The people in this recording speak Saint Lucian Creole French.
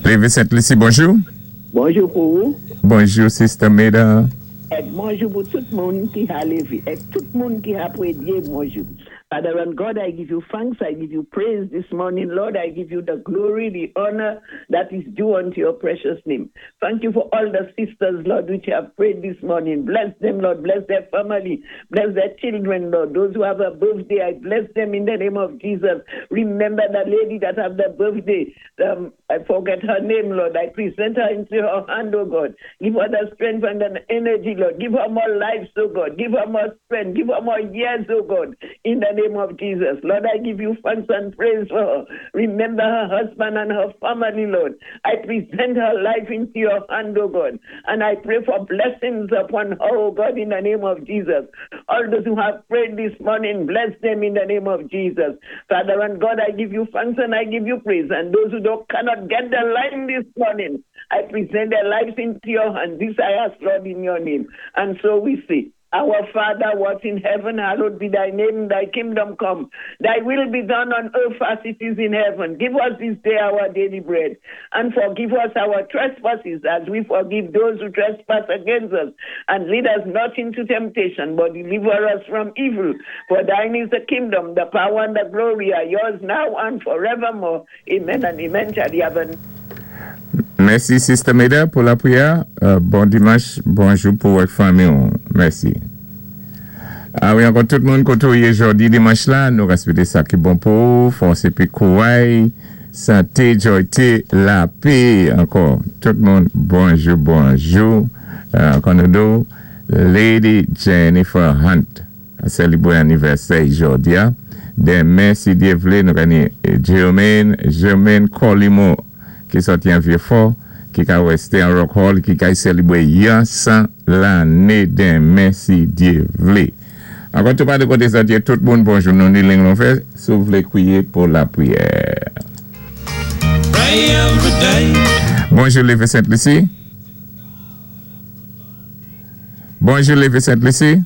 Lévi Sent Lisi, bonjou. Bonjou pou ou. Bonjou, Sister Meda. Èk bonjou pou tout moun ki ha lévé. Èk tout moun ki ha pwédyé, bonjou. Father and God, I give you thanks, I give you praise this morning, Lord. I give you the glory, the honor that is due unto your precious name. Thank you for all the sisters, Lord, which have prayed this morning. Bless them, Lord. Bless their family. Bless their children, Lord. Those who have a birthday, I bless them in the name of Jesus. Remember the lady that have the birthday. I forget her name, Lord. I present her into your hand, oh God. Give her the strength and the energy, Lord. Give her more life, oh God. Give her more strength. Give her more years, oh God. In the name of Jesus. Lord, I give you thanks and praise for her. Remember her husband and her family, Lord. I present her life into your hand, oh God. And I pray for blessings upon her, oh God, in the name of Jesus. All those who have prayed this morning, bless them in the name of Jesus. Father and God, I give you thanks and I give you praise. And those who don't cannot get the line this morning, I present their lives into your hand. This I ask, Lord, in your name. And so we say, Our Father, who art in heaven, hallowed be thy name, thy kingdom come. Thy will be done on earth as it is in heaven. Give us this day our daily bread. And forgive us our trespasses as we forgive those who trespass against us. And lead us not into temptation, but deliver us from evil. For thine is the kingdom, the power, and the glory are yours now and forevermore. Amen and amen. Shall you have a Mèsi, Sister Meda, pou lapriyè. Bon dimanch, bonjou pou wè fanmi. Mèsi. A wi, ankò tout moun koté ou yé jòdi dimanch la, nou swété sa ki bon pou ou, fòs épi kouray, santé, jòyté, lapè ankò. Tout moun, bonjou, bonjou. Ankò nou di Lady Jennifer Hunt sélébwé anivèsè jòdi a. Denmen, si Dye vlé, nou genni Jermaine, Jermaine Colimo ki sòti an Vieux-Fort, ki ka wèsté an Rock Hall, ki kay sélébwé yon 100 lanné denmen, si Dye vlé. Ankò tou pa de koté sa tout moun, bonjou. Nou ni liy lan ouvè, si ou vlé kwiyé pou lapriyè. Bonjou, Lévi Sainte-Lucie. Bonjou, Lévi Sainte-Lucie.